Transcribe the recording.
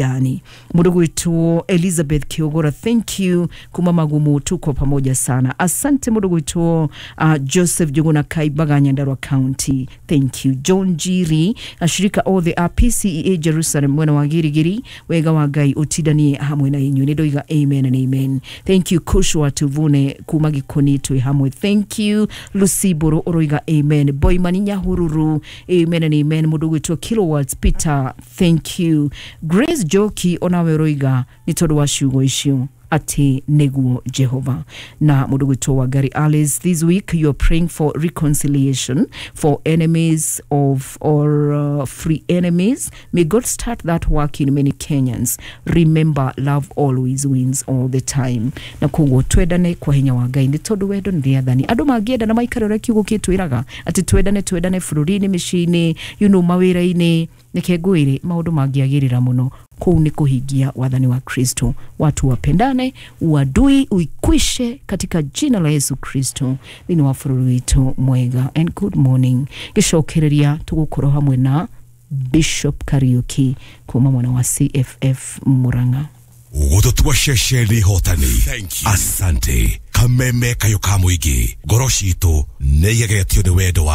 Gani mundu gwitwo Elizabeth Kiogora, thank you kuma Magumu, tuko pamoja sana, asante. Mundu gwitwo Joseph Juguna Kaibaga, Nyandarua County, thank you. John Jiri, ashirika othe a PCEA Jerusalem mwena wa Girigiri, wega wa Ngai utindanie hamwe na inyuĩ, nĩ ndoiga amen and amen. Thank you. Kushwa Tuvune kuma Gikoni, twĩ hamwe, thank you. Lucy Buru ũroiga amen. Boimani Nyahururu, amen and amen. Mũndũ gwĩtwo Kilowatts Peter, thank you. Grace Joki, onawe ũroiga nĩ tondũ wa ciugo icio atĩ nĩguo Jehova. Na mũndũ gwĩtwo Wangari Alice, this week you are praying for reconciliation for enemies of or free enemies. May God start that work in many Kenyans. Remember, love always wins all the time. Na koguo twendane kwa hinya wa Ngai, nĩ tondũ wendo nĩ rĩathani. Andũ mangĩenda na maikare ũrĩa kiugo gĩtwĩraga atĩ twendane, twendane bũrũri-inĩ, mĩciĩ-inĩ, mawĩra-inĩ, nĩke ngwĩre maũndũ mangĩagĩrĩra mũno. Kũu nĩ kũhingia wathani wa Kristo. Watu wapendane, uadui uikwishe katika jina la Yesu Kristo thĩinĩ wa bũrũri witũ mwega. And good morning. Gĩcokereria tũgũkorwo hamwe na Bishop Kariuki kuma mwena wa CFF Murang'a. Gũtũtua ceceni hotani. Asante. Kameme kayũ ka mũingĩ, ngoro citũ nĩ igegetio nĩ wendo wa